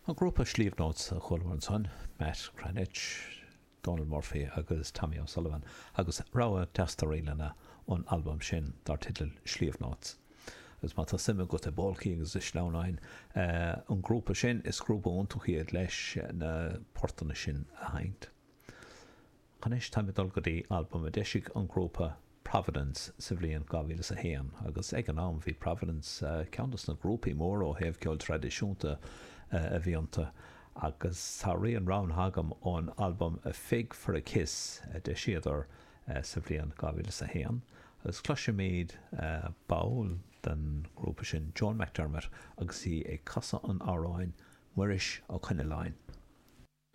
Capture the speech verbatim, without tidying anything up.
An grúpa Sliabh Notes a chualamar ansan, Matt Cranitch, Donal Murphy agus Tommy O'Sullivan agus rogha deas de ríleanna ón albam sin dar teideal Sliabh Notes. Agus má tá suim agat i bpolcaí agus i sleamhnáin an grúpa sin is grúpa iontach iad leis na portanna sin a sheinnt. Anois táim ag dul go dtí albam a d'eisigh an grúpa Providence sa bhliain dhá mhíle is a haon agus ag an am bhí Providence ceann dos na grúpaí móra ó thaobh ceol traidisiúnta a bhí iontu agus tá rian roghnaithe agam ón albam A Fig for a Kiss a d'eisíodar sa bhliain dhá mhíle is a haon agus cloisfimid ball den ghrúpa sin, Joan McDermott agus í ag casadh an amhráin Muiris Ó Coinnealláin.